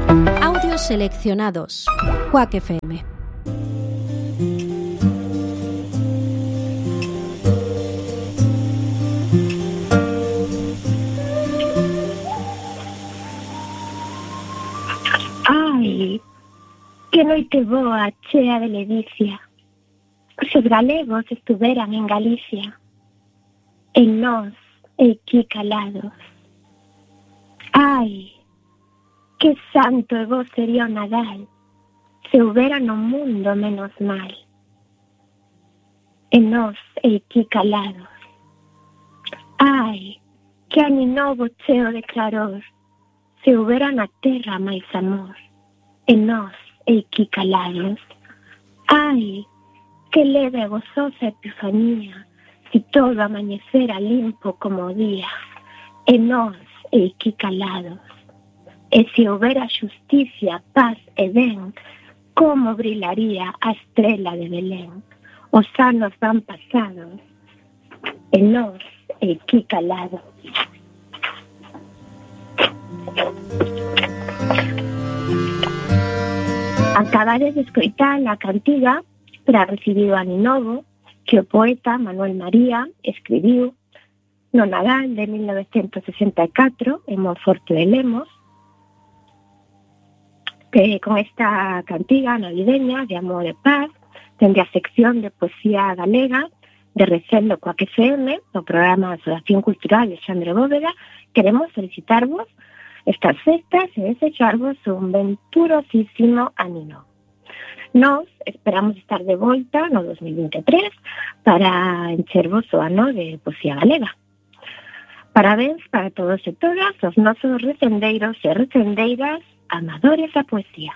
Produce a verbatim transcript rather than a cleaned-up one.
Audios seleccionados. Quack F M. Ai, que noite boa, chea de ledicia. Se os galegos estuveran en Galicia, en nós, aquí calados. Ai, que santo e bo sería o Nadal, se houbera no mundo menos mal. En nós, aquí calados. Ai, que ani novo cheo de claror, se houbera na terra máis amor. En nós, aquí calados. Ai, que leve e gozosa epifanía, si todo amanecera limpo como o día. En nós, aquí calados. E se houbera xusticia, paz e ben, como brilaría a estrela de Belén. Os anos van pasados, e nós, aquí calados. Acabades de escoitar a cantiga para recibir o ano novo que o poeta Manuel María escribiu no Nadal de mil novecientos sesenta e catro en Monforte de Lemos, que con esta cantiga navideña de amor e paz, dende a sección de poesía galega de Recendo Quack F M, o programa de Asociación Cultural de Xandre Bóveda, queremos felicitarvos estas festas e desexarvos un venturosísimo ano novo. Nos esperamos estar de volta no dos mil vinte e tres para enchervos o ano de poesía galega. Parabéns para todos e todas os nosos recendeiros e recendeiras amadores da poesía.